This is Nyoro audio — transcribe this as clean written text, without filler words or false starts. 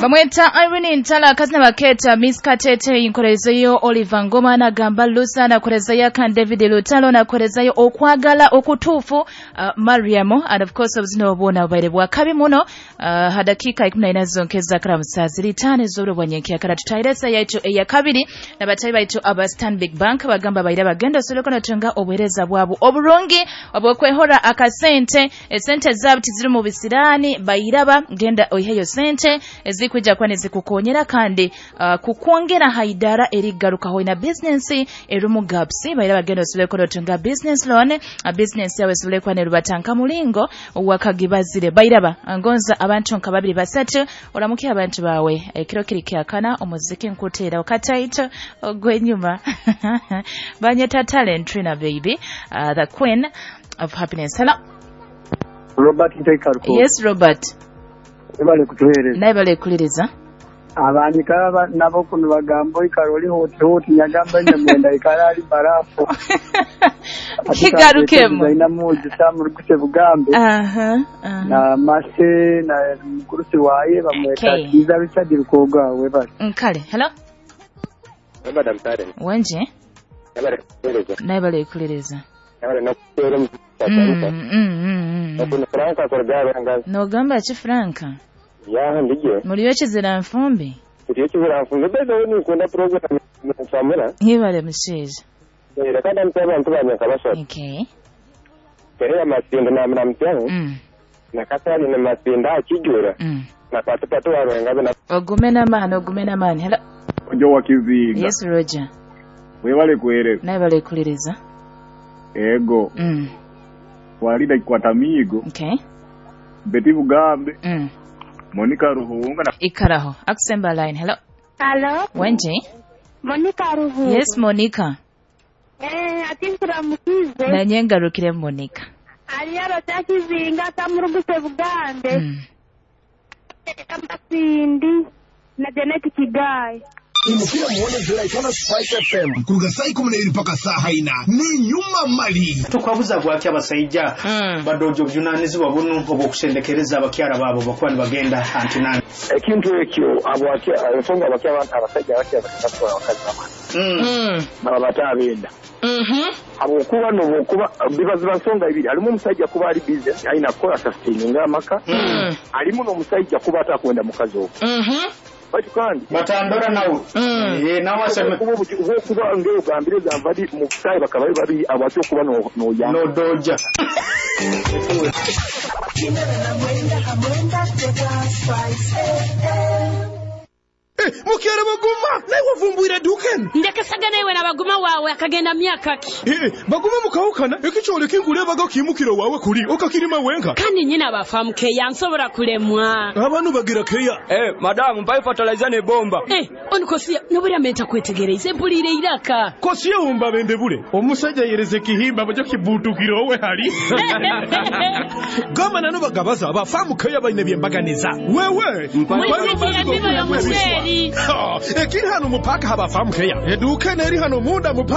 Bamweta Irene Ntala, akazina baketa Miss Katete. Inkorezeyo Oliver Ngoma nagamba Lusa, nakorezeyo Kan David Lutalo, nakorezeyo okwagala okutuufu Mariamu, and of course obuzina obwona bubaire bwakabi muno. Hadakika 14 zonkeza karamusa ziri 5 z'oburo bwa nyenkyakara. Tutahiresa yaitu eyakabiri nabatayi baitu aba Stanbic Bank bagamba baira bagenda soleko notunga obuhereza bwabo oburungi obwokwehora akasente. Esente zabo tiziri mu bisirani, bairaba genda oiheyo sente ezikuja kwa nezikukonyera kandi kukwongera haidara erigarukaho ina business erumu gaps. Baira bagenda osoleko notunga business loan, business yawe soleko nerubatanka mulingo wakagibazire. Bairaba ngonza abantu nka babiri basatu oramuke abantu bawe ekiro kiri kyakana omuziki nkutera okataito ogwenyuma banyeta Talent Trina baby, the queen of happiness. Hello Robert Ntekarko. Yes Robert. Ebale kutuhereza. Naye bale kuliriza. Abandika nabo kuno bagambo ikaroli hoti hoti nyagamba nyamwenda ikarali barafu. Kigarukemo. Ina muzi samurukuse bugambe. Na mase na mkurusi waye bamweta Kiza Richard Rukoga webale. Nkale. Hello. Madam Taren. Wenje? Ebale kutuhereza. Naye bale kuliriza. Ebale nakuteera mu Franka korgaba nga nogamba ki Franka? Ya ndije. Muliyo kizira nfumbi? Muliyo kizira nfumbi bebe ni nkunda program nsamura. Hibale musheje. Era kandi mtaba ntubanya kabasha. Okay. Terera masinda na mramtyango. Na katali na masinda akijura. Na patupatu warenga na ogumena mani ogumena mani. Hello. Ojo wakizinga. Yes Roger. Webale kuhereza. Naye bale kuliriza. Ego. Walida Kwatamigo. Okay. Betty Bugambe. Monica Ruhunga na Ikaraho. Akusemba line. Hello. Hello. Wenje? Monica Ruhunga. Yes Monica. Ati nkuramukize. Nanye ngarukire Monica. Aliyaro takizinga tamuruguse Bugambe. Amasindi na Janet Kigai. Imukira muone ziraitana Spice FM kuruga saa 12 mpaka saa 4 ni nyuma mali tukwabuza gwaki abasajja badojo obuvunanyizibwa buno obw'okusendekereza abakyala baabo bakuba nibagenda antinani ekintu ekyo ensonga abasajja abakyala abakazi bamala baba batabenda habwokuba nobwokuba bibaziba nsonga ibiri alimu omusajja kuba ali busy alina kukola sustaininga amaka alimu n'omusajja kuba atakwenda mukazi ogwo batu kandi batandora nawe nawe aseme kuba ngero gambire zamvari mu kusai bakabaye babi abatyo kuba no no ya no doja Mukere baguma naye wavumbwira duken ndekasaga nawe na baguma wawe akagenda myaka ki baguma mukawukana ekikyole kingule baga kimukiro wawe kuli okakirima wenka kandi nyina bafamu keya nsobora kulemwa abantu bagira keya madamu mpa fertilizer ne bomba onikosia nobura menta kwetegereza mpulire iraka kosiye umba bende bule omusajja yereze kihimba bajo kibutukiro we hali gama nano bagabaza bafamu keya bayine byembaganiza wewe mpa ekiri hano mupaka habafamu keya eduke neri hano munda mupaka.